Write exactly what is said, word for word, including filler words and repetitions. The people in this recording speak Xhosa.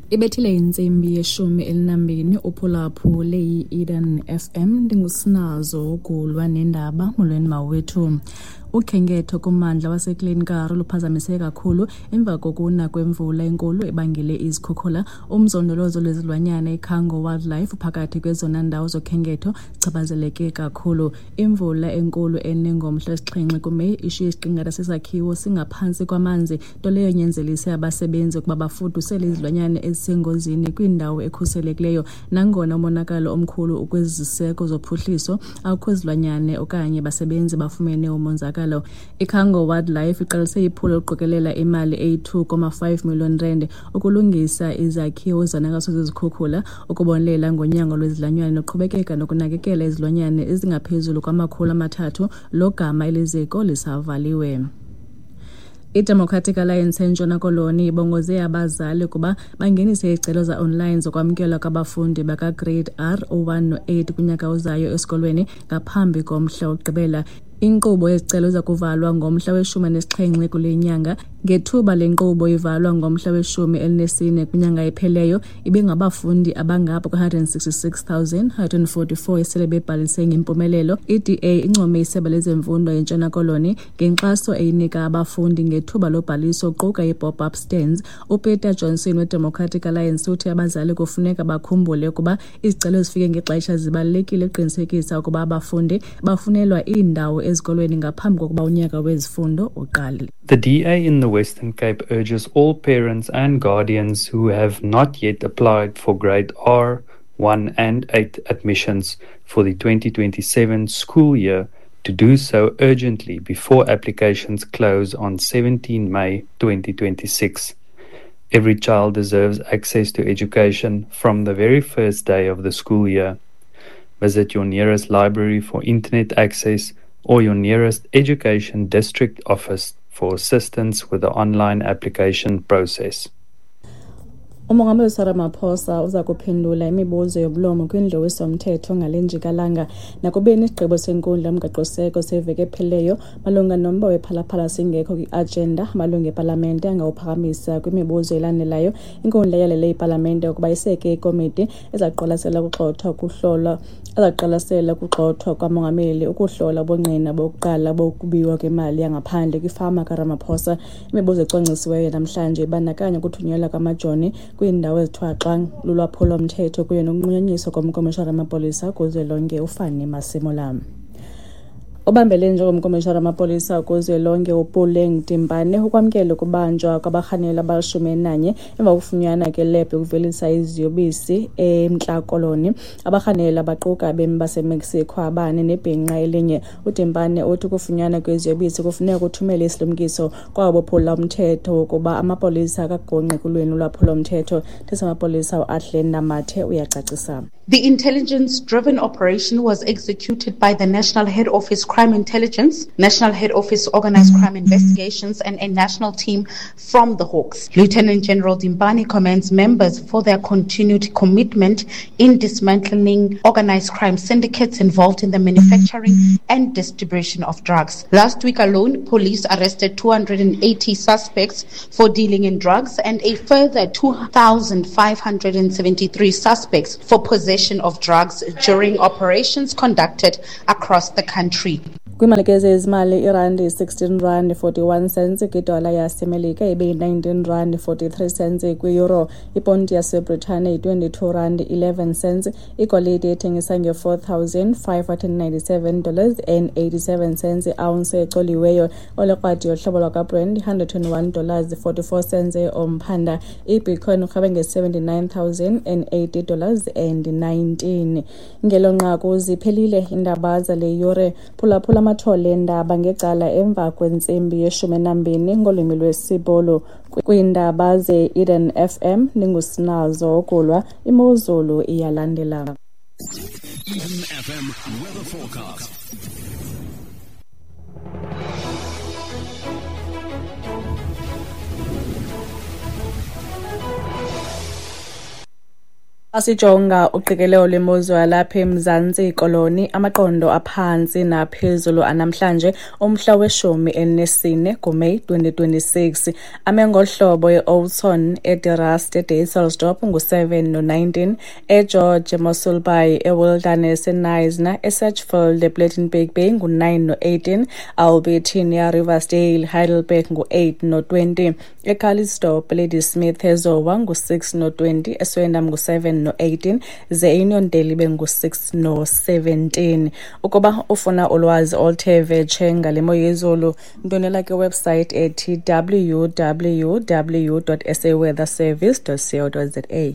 Ibethile intsimbi yeshumi elinambini uphulaphule i-Eden F M. Ndingusinazo ukulwa nendaba. Molweni mawethu. Ukhenketho kummandla waseKlein Karoo luphazamise kakhulu emva kokuna kwemvula enkulu ebangele izikhukhula. Umzondolozo lwezilwanyana iKhango Wildlife uphakathi kwezona ndawo zokhenketho zichaphazeleke kakhulu. Imvula enkulu ene ngomhla wesixhenxe kuMeyi ishiye isiqingatha sesakhiwo singaphantsi kwamanzi, nto leyo inyanzelise abasebenzi ukuba bafudusele izilwanyana ezisengozini kwindawo ekhuselekileyo. Nangona umonakalo omkhulu ukwiziseko zophuhliso, akukho zilwanyana okanye basebenzi bafumene umonzakalo. iKhango Wildlife iqalise iphulo lokuqokelela imali eyi-two comma five million rand ukulungisa izakhiwo ezonakaliswe zizikhukhula, ukubonelela ngonyango lwezilwanyana noqhubekeka nokunakekela izilwanyana ezingaphezulu kwamakhulu amathathu logama eliziko lisavaliwe. I-Democratic Alliance eNtshona Koloni ibongoze abazali ukuba bangenise izicelo za-online zokwamkelwa kwabafundi baka-Grade R u-one no-eight kunyaka ozayo esikolweni ngaphambi komhla wokugqibela. Inkqubo yezicelo iza kuvalwa ngomhla weshumi nesixhenxe kule nyanga. Ngethuba le nkqubo ivalwa ngomhla weshumi elinesine kwinyanga epheleyo, ibingabafundi abangapha kwe-hundred and sixty-six thousand, hundred and forty-four esele bebhalise ngempumelelo. I-D A income isebe lezemfundo eNtshona Koloni ngenkxaso eyinika abafundi ngethuba lobhaliso kuquka i-pop-up stands. UPeter Johnson weDemocratic Alliance uthi abazali kufuneka bakhumbule ukuba izicelo ezifike ngexesha zibalulekile ukuqinisekisa ukuba abafundi bafunelwa iindawo ezikolweni ngaphambi kokuba unyaka wezifundo uqale. The D A in the Western Cape urges all parents and guardians who have not yet applied for Grade R, one and eight admissions for the twenty twenty-seven school year to do so urgently before applications close on seventeenth May twenty twenty-six. Every child deserves access to education from the very first day of the school year. Visit your nearest library for internet access or your nearest education district office for assistance with the online application process. Umongameli Cyril Ramaphosa uza kuphendula imibuzo yoblomo kwindlu yomthetho ngale njikalanga. Nakubeni isigqibo senkundla yomgaqoseko seveki ephelileyo malunga nomba wephalaphala singekho kwi-agenda, amalungu epalamente angawuphakamisa kwimibuzo elandelayo. Inkundla yalele ipalamente ukuba iseke ikomiti ezaqwalasela ukugxothwa kuhlolwa ezaqwalasela ukugxothwa kwamongameli ukuhlola ubungqina bokuqala bokubiwa kwemali yangaphandle kwifama kaRamaphosa. Imibuzo ecwangcisiweyo namhlanje ibandakanya ukuthunyelwa kwamajoni kwiindawo ezithwaxa lulwaphulo-mthetho kunye nokunqunyanyiswa komkomishara wamapolisa kuzwelonke uFannie Masemola. Obambele njengomkomishara wamapolisa kuzwelonke uPuleng Dimpane ukwamkele ukubanjwa kwabarhanelwa abalishumi elinanye emva kokufunyanwa kwelebhu yokuvelisa iziyobisi eMntla Koloni. Abarhanelwa baquka abemi baseMexico abane nebhinqa elinye. UDimpane uthi ukufunyanwa kweziyobisi kufuneka kuthumele isilumkiso kwabo bophula umthetho wokuba amapolisa akagungqi kulweni ulwaphulo-mthetho. Amapolisa uAdlin Namathe uyacacisa. The intelligence-driven operation was executed by the National Head Office Crime Intelligence, National Head Office Organized Crime Investigations, and a national team from the Hawks. Lieutenant General Dimpane commends members for their continued commitment in dismantling organized crime syndicates involved in the manufacturing and distribution of drugs. Last week alone, police arrested two hundred and eighty suspects for dealing in drugs and a further two thousand five hundred and seventy-three suspects for possession of drugs during operations conducted across the country. Kwimalike zezimali irandi sixteen rand forty-one cents kwidola yaseMelika ibe nineteen rand forty-three cents kwi-euro. Iponti yaseBritane yi-twenty-two rand eleven cents. Igolide ethengisa nge-four thousand five hundred ninety-seven dollars and eighty-seven cents i-ounce ecoliweyo. Olekrwadi yohlobo lwakwaBrent hundred twenty-one dollars forty-four cents omphanda. I-Bitcoin urhabe nge-seventy-nine thousand and eighty dollars and nineteen. Ngelo nqaku ziphelile iindaba zale yure. Phulaphula amathole endaba ngecala emva kwentsimbi yeshumi nambini ngolwimi lwesiBhulu. Kwiindaba ze-Eden F M ndingusinazo Okulwa. Imozulu iyalandela. Eden F M weather forecast. Asijonga uqikelelo lwemozulu yalapha eMzantsi Koloni, amaqondo aphantsi naphezulu anamhlanje umhla weshumi elinesine kuMeyi twenty twenty-six, ame ngohlobo: e-Oudtshoorn, eDe Rust, eDysselsdorp ngu-seven no-nineteen, eGeorge, eMossel Bay, eWilderness, eKnysna, eSedgefield, ePlettenberg Bay ngu-nine no-eighteen, Albertinia, Riversdale, Heidelberg ngu-eight no-twenty, eCalitzdorp, Ladysmith, eZowa ngu-six no-twenty, eSwellendam ngu-seven no-eighteen, ze eUniondale ibe ngu-six no-seventeen. Ukuba ufuna ulwazi oluthe vetshe ngale mo yezulu, ndwendwela kwiwebsite ethi W W W dot saweatherservice dot co dot za.